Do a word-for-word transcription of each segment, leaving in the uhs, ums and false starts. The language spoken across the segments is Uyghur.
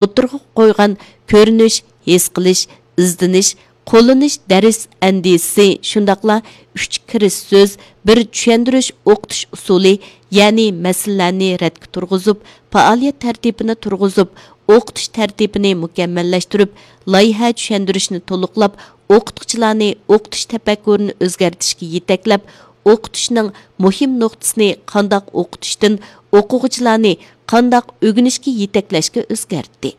ئوتتۇرىغا قويغان كۆرۈنۈش، ھېس قىلىش، ئىزدىنىش، قوللىنىش دەرس ئەندىزىسى، شۇنداقلا ئۈچ كىرىش سۆز، بىر چۈشەندۈرۈش ئوقۇتۇش ئۇسۇلى، يەنى مەسىلىلەرنى رەتكە تۇرغۇزۇپ، پائالىيەت تەرتىپىنى تۇرغۇزۇپ، ئوقۇتۇش تەرتىپىنى مۇكەممەللەشتۈرۈپ، لايىھە چۈشەندۈرۈشنى تولۇقلاپ، ئوقۇتقۇچىلارنى ئوقۇتۇش تەپەككۇرىنى ئۆزگەرتىشكە يېتەكلەپ، ئوقۇتۇشنىڭ مۇھىم نۇقتىسىنى قانداق ئوقۇتۇشتىن ئوقۇغۇچىلارنى قانداق ئۆگىنىشكە يېتەكلەشكە ئۆزگەرتتى.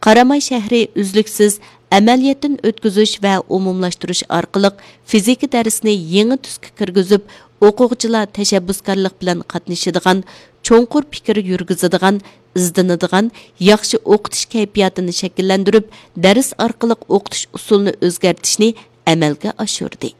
قاراماي شەھىرى ئۈزلۈكسىز ئەمەلىيەتتىن ئۆتكۈزۈش ۋە ئومۇملاشتۇرۇش ئارقىلىق فىزىكا دەرسىنى يېڭى تۈسكە كىرگۈزۈپ، ئوقۇغۇچىلار تەشەببۇسكارلىق بىلەن قاتنىشىدىغان، چوڭقۇر پىكىر يۈرگۈزىدىغان، ئىزدىنىدىغان، ياخشى ئوقۇتۇش كەيپىياتىنى شەكىللەندۈرۈپ، دەرس ئارقىلىق ئوقۇتۇش ئۇسۇلىنى ئۆزگەرتىشنى ئەمەلگە ئاشۇردى.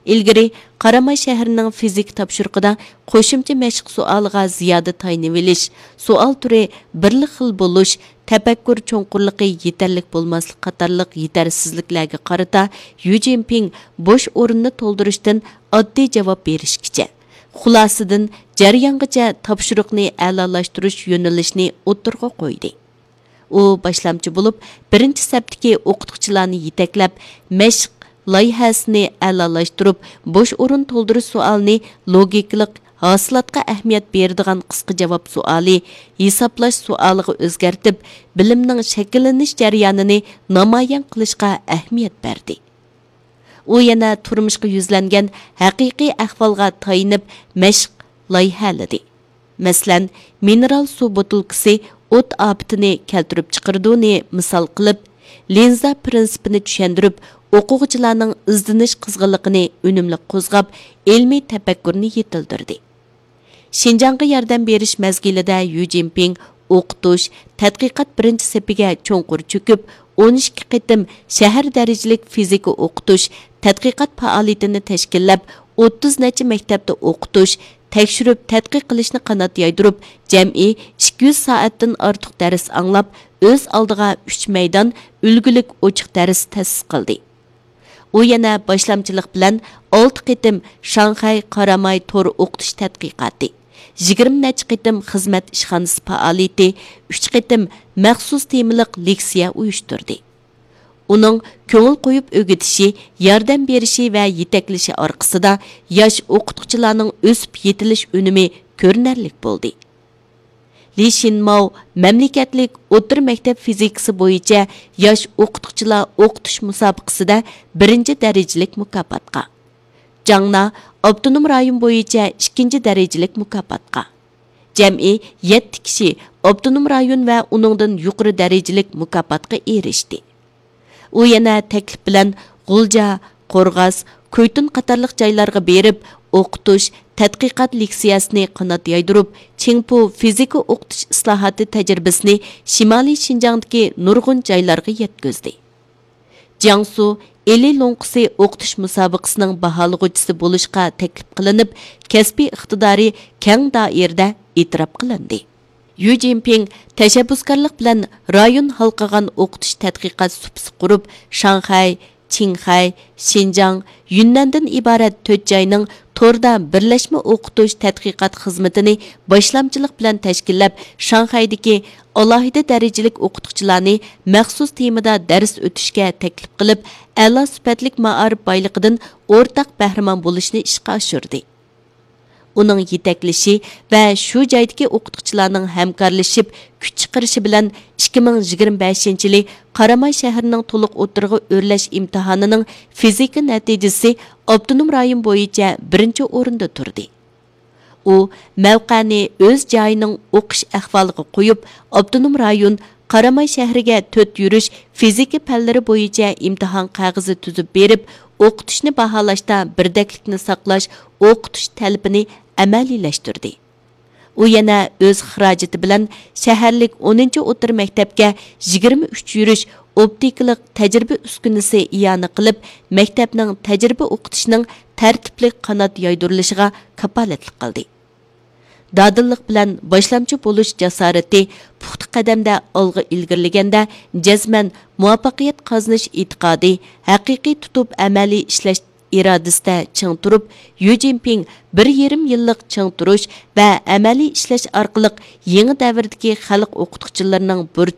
ئىلگىرى قاراماي شەھىرىنىڭ فىزىكا تاپشۇرۇقىدا قوشۇمچە مەشىق سوئالىغا زىيادە تايىنىۋېلىش، سوئال تۈرى بىرلا خىل بولۇش، تەپەككۇر چوڭقۇرلۇقى يېتەرلىك بولماسلىق قاتارلىق يېتەرسىزلىكلەرگە قارىتا يۈ جىنپىڭ بوش ئورۇننى تولدۇرۇشتىن ئاددىي جاۋاب بېرىشكىچە، خۇلاسىدىن جەريانغىچە تاپشۇرۇقنى ئەلالاشتۇرۇش يۆنىلىشىنى ئوتتۇرىغا قويدى. ئۇ باشلامچى بولۇپ، بىرىنچى سەپتىكى ئوقۇتقۇچىلارنى يېتەكلەپ، مەشىق لايىھەسىنى ئەلالاشتۇرۇپ، بوش ئورۇن تولدۇرۇش سوئالىنى لوگىكىلىق، ھاسىلاتقا ئەھمىيەت بېرىدىغان قىسقا جاۋاب سوئالى، ھېسابلاش سوئالىغا ئۆزگەرتىپ، بىلىمنىڭ شەكىللىنىش جەريانىنى نامايان قىلىشقا ئەھمىيەت بەردى. ئۇ يەنە تۇرمۇشقا يۈزلەنگەن ھەقىقىي ئەھۋالغا تايىنىپ مەشىق لايىھەلىدى. مەسىلەن، مىنېرال سۇ بوتۇلكىسى ئوت ئاپىتىنى كەلتۈرۈپ چىقىرىدۇنى مىسال قىلىپ، لىنزا پىرىنسىپىنى چۈشەندۈرۈپ، ئوقۇغۇچىلارنىڭ ئىزدىنىش قىزغىنلىقىنى ئۈنۈملۈك قوزغاپ، ئىلمىي تەپەككۇرنى يېتىلدۈردى. شىنجاڭغا ياردەم بېرىش مەزگىلىدە يۈ جىنپىڭ ئوقۇتۇش، تەتقىقات بىرىنچى سېپىگە چوڭقۇر چۆكۈپ، ئون ئىككى قېتىم شەھەر دەرىجىلىك فىزىكا ئوقۇتۇش، تەتقىقات پائالىيىتىنى تەشكىللەپ، ئوتتۇز نەچچە مەكتەپتە ئوقۇتۇش، تەكشۈرۈپ تەتقىق قىلىشنى قانات يايدۇرۇپ، جەمئىي ئىككى يۈز سائەتتىن ئارتۇق دەرس ئاڭلاپ، ئۆز ئالدىغا ئۈچ مەيدان ئۈلگىلىك ئوچۇق دەرس تەسىس قىلدى. ئۇ يەنە باشلامچىلىق بىلەن ئالتە قېتىم شاڭخەي قاراماي تور ئوقۇتۇش تەتقىقاتى، يىگىرمە نەچچە قېتىم خىزمەت ئىشخانىسى پائالىيىتى، ئۈچ قېتىم مەخسۇس تېمىلىق لېكسىيە ئۇيۇشتۇردى. ئۇنىڭ كۆڭۈل قويۇپ ئۆگىتىشى، ياردەم بېرىشى ۋە يېتەكلىشى ئارقىسىدا ياش ئوقۇتقۇچىلارنىڭ ئۆسۈپ يېتىلىش ئۈنۈمى كۆرۈنەرلىك بولدى. لى شىنماۋ مەملىكەتلىك ئوتتۇرا مەكتەپ فىزىكىسى بويىچە ياش ئوقۇتقۇچىلار ئوقۇتۇش مۇسابىقىسىدە بىرىنچى دەرىجىلىك مۇكاپاتقا، جاڭنا ئاپتونوم رايون بويىچە ئىككىنچى دەرىجىلىك مۇكاپاتقا، جەمئىي يەتتە كىشى ئاپتونوم رايون ۋە ئۇنىڭدىن يۇقىرى دەرىجىلىك مۇكاپاتقا ئېرىشتى. ئۇ يەنە تەكلىپ بىلەن غۇلجا، قورغاس، كۇيتۇن قاتارلىق جايلارغا بېرىپ، ئوقۇتۇش، تەتقىقات لېكسىيەسىنى قانات يايدۇرۇپ، چىڭپۇ فىزىكا ئوقۇتۇش ئىسلاھاتى تەجرىبىسىنى شىمالىي شىنجاڭدىكى نۇرغۇن جايلارغا يەتكۈزدى. جياڭسۇ ئىلى لوڭقىسى ئوقۇتۇش مۇسابىقىسىنىڭ باھالىغۇچىسى بولۇشقا تەكلىپ قىلىنىپ، كەسپىي ئىقتىدارى كەڭ دائىرىدە ئېتىراپ قىلىندى. يۈ جىنپىڭ تەشەببۇسكارلىق بىلەن رايون ھالقىغان ئوقۇتۇش تەتقىقات سۇپىسى قۇرۇپ، شاڭخەي، چىڭخەي، شىنجاڭ، يۈننەندىن ئىبارەت تۆت جاينىڭ توردا بىرلەشمە ئوقۇتۇش تەتقىقات خىزمىتىنى باشلامچىلىق بىلەن تەشكىللەپ، شاڭخەيدىكى ئالاھىدە دەرىجىلىك ئوقۇتقۇچىلارنى مەخسۇس تېمىدا دەرس ئۆتۈشكە تەكلىپ قىلىپ، ئەلا سۈپەتلىك مائارىپ بايلىقىدىن ئورتاق بەھرىمەن بولۇشنى ئىشقا ئاشۇردى. ئۇنىڭ يېتەكلىشى ۋە شۇ جايدىكى ئوقۇتقۇچىلارنىڭ ھەمكارلىشىپ كۈچ چىقىرىشى بىلەن، ئىككى مىڭ يىگىرمە بەشىنچى يىلى قاراماي شەھىرىنىڭ تولۇق ئوتتۇرىغا ئۆرلەش ئىمتىھانىنىڭ فىزىكا نەتىجىسى ئاپتونوم رايون بويىچە بىرىنچى ئورۇندا تۇردى. ئۇ مەۋقەنى ئۆز جايىنىڭ ئوقۇش ئەھۋالىغا قويۇپ، ئاپتونوم رايون قاراماي شەھىرىگە تۆت يۈرۈش فىزىكا پەنلىرى بويىچە ئىمتىھان قەغىزى تۈزۈپ بېرىپ، ئوقۇتۇشنى باھالاشتا بىردەكلىكنى ساقلاش ئوقۇتۇش تەلىپىنى ئەمەلىيلەشتۈردى. ئۇ يەنە ئۆز خىراجىتى بىلەن شەھەرلىك ئونىنچى ئوتتۇرا مەكتەپكە يىگىرمە ئۈچ يۈرۈش ئوپتىكىلىق تەجرىبە ئۈسكۈنىسى ئىئانە قىلىپ، مەكتەپنىڭ تەجرىبە ئوقۇتۇشىنىڭ تەرتىپلىك قانات يايدۇرۇلۇشىغا كاپالەتلىك قىلدى. دادىللىق بىلەن باشلامچى بولۇش جاسارىتى، پۇختا قەدەمدە ئالغا ئىلگىرىلىگەندە جەزمەن مۇۋەپپەقىيەت قازىنىش ئېتىقادى، ھەقىقىي تۇتۇپ ئەمەلىي ئىشلەش ئىرادىسىدە چىڭ تۇرۇپ، يۈ جىنپىڭ بىر يېرىم يىللىق چىڭ تۇرۇش ۋە ئەمەلىي ئىشلەش ئارقىلىق يېڭى دەۋردىكى خەلق ئوقۇتقۇچىلىرىنىڭ بۇرچ